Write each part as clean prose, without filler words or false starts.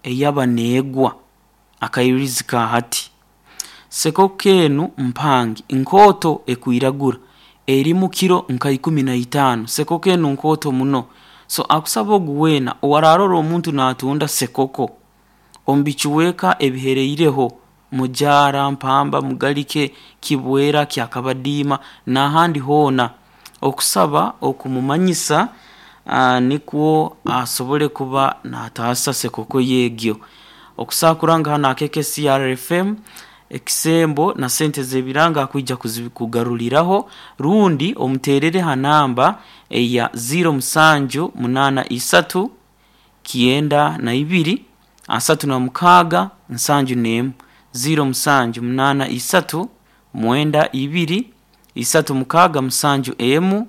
Eyaba neegwa akairirizi ka hati. Sekoko enu mpangi nkooto ekwiragura erimu kiro nka ikumi na itaano. Sekoko enu nkooto muno. So akusaba ogu weena owaraarora omuntu naatunda sekoko omu bicweka ebihereireho Mujaara, Mpamba, Mugalike, Kibwera, Kyakabadiima n'ahandi hoona okusaba okumumanyisa nikwo asobole kuba naataasa sekoko ye egyo. Okusaakura nga hanu aha KKCR FM, ekisembo na sente z'ebiranga akwija kuzikugaruriraho rundi omuteerere ha namba eya ziiro musanju munaana isatu kyenda na ibiri 36 71, ziiro musanju munaana isatu mwenda ibiri isatu mukaaga musanju emu.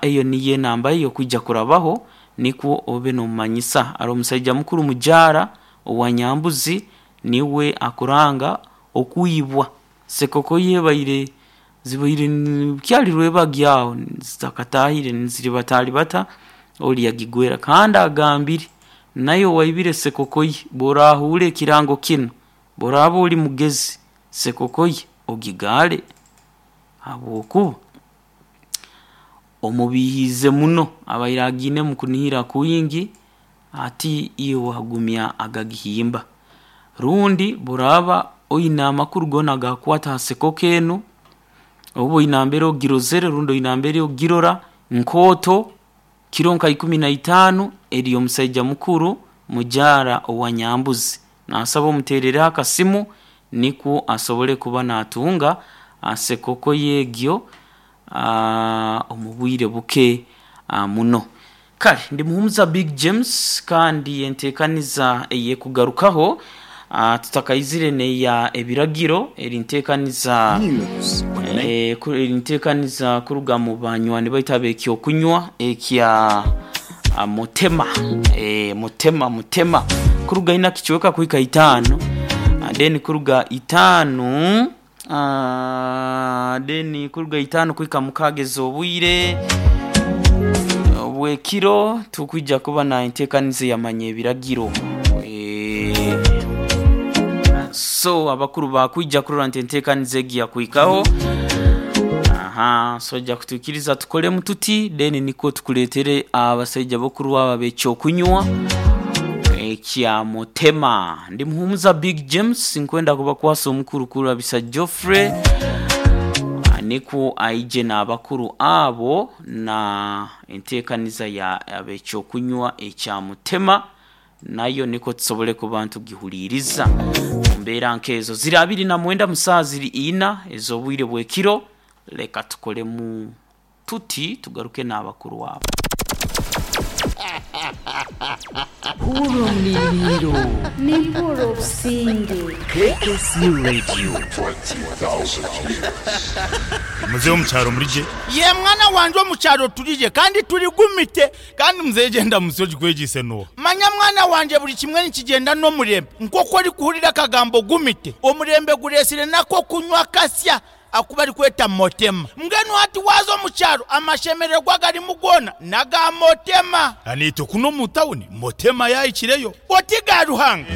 Eyo niyo enamba ye y'okwija kurabaho nikwo obe n'omumanyisa. Ari omusaija mukuru mujaara owa Nyambuzi niwe akuranga okwibwa. Sekoko ye ebaire zibaire bukyali rwebagyo agho zitakataahire niziribataribata ori yagigwera. Kandi agambire naye owaibire sekoko ye bw'orahuura ekirango kinu, bw'oraaba ori mugezi sekoko ye ogigaale ahabw'okuba omubiihiize muno abaire agiinemu kunihira kwingi ati iwe wagumya agagihimba. Rundi bw'oraaba oine amakuru goona agakukwata ha sekoko enu, oba oine nambere ogirozere rundi oine nambere ogirora nkooto kiro nka 15 eri omusaija mukuru mujaara owa Nyambuzi. Naasaba omuteerereho akasimu nikwo asobole kuba naatunga sekoko ye egyo omu bwire buke muno. Kale ndi Muhumuza Big James kandi enteekaniza ey'ekugarukaho tutakaizire n'eya ebiragiro eri nteekaniza eri nteekaniza kuruga mu banywani baitu ab'ekyokunywa ekya Mutema Mutema Mutema kuruga ina kicweka kuhika itaano then kuruga itaano Then kuruga itaanu kuhika mukaaga ez'obwire obw'ekiro tukwija kuba na enteekaniza eyamanya ebiragiro. So abakuru baakwija kurora nti enteekaniza egi yakuhikaho. Aha, so oja kutwikiriza tukolemu tuti then nikwo tukuleetere abasaija bakuru abo ab'ekyokunywa ekya Mutema. Ndi Muhumuza Big James nkwenda kubakwasa omukuru Kurabisa Geoffrey nikwo aije n'abakuru abo na enteekaniza ya ab'ekyokunywa ekya Mutema nayo nikwo tusobole kuba nitugihuliiriza omu mbeera nk'ezo. Ziri abiri na mwenda mu saaha ziri ina ez'obwire bw'ekiro, leka tukolemu Tuti tugaruke n'abakuru abo. Huurira omuriiro. Nimpuurira obusinge. KKC Radio. Muzeeyi omu kyaro muri gye. Ye mwana wangye omu kyaro turi gye kandi turi gumite. Kandi muzeeyi egyo endamutsyo ogikwegyeise n'oha? Manya mwana wangye buri kimwe nikigyenda n'omurembe. Nk'oku orikuhurira akagambo gumite, omurembe gureetsire n'ak'okunywa akasya aku barikweta Motema. Mbwenu hati waaza omu kyaro amashemererwa agarimu goona n'aga Motema. Naitwe kunu omu tawuni Motema yaahikireyo. Oti ga Ruhanga.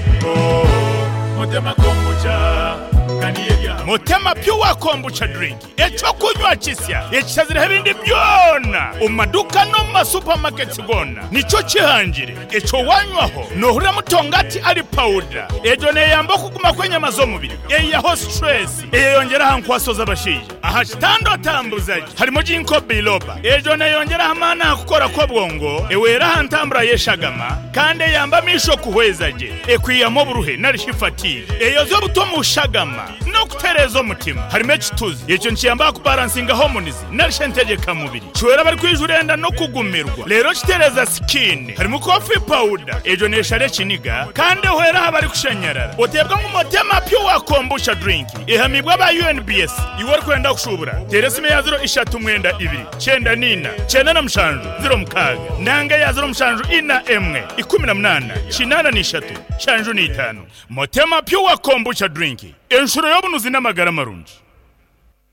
Motema Pure Kombucha Drink, eky'okunywa kisya ekishazireho ebindi byona omu maduuka n'omu ma supermarkets goona nikyo kihangire. Ekyo waanywaho noohurira mutongati ari pawuda. Egyo neeyamba okuguma kw'enyama z'omubiri, eihaho stress. Eyeyongyera aha nkwaso z'abashaija aha kitanda otambuza gye harimu Ginkgo biloba. Egyo neyongyera aha maani aha kukora kw'obwongo, ehwera aha ntambura y'eshagama kandi eyamba amaisho kuhweza gye, ekwihamu oburuhe nari shi fatigue, eyozya obutwa omu shagama n'okutereeza omutima. Harimu ekituzi, ekyo nikiyamba aha kubaransinga hormones nari shi entegyeka mubiri. Kihwera abarikwijura enda n'okugumirwa reero kitereeza sikiini. Harimu coffee powder, egyo neeshara ekiniga kandi ehwera aha barikushanyarara. Oteebwa ngu Motema Pure Kombucha Drink ehamiibwe aba UNBS. Iwe orikwenda kushuubura, teera esimu eya ziro ishatu mwenda ibiri, kyenda n'eina, kyenda na mushanju, ziro mukaaga nanga eya ziro mushanju ina emwe, ikumi na munaana, kinaana na ishatu, nshanju na itaano. Motema Pure Kombucha Drink, enshuro y'obunuzi n'amagara marungi.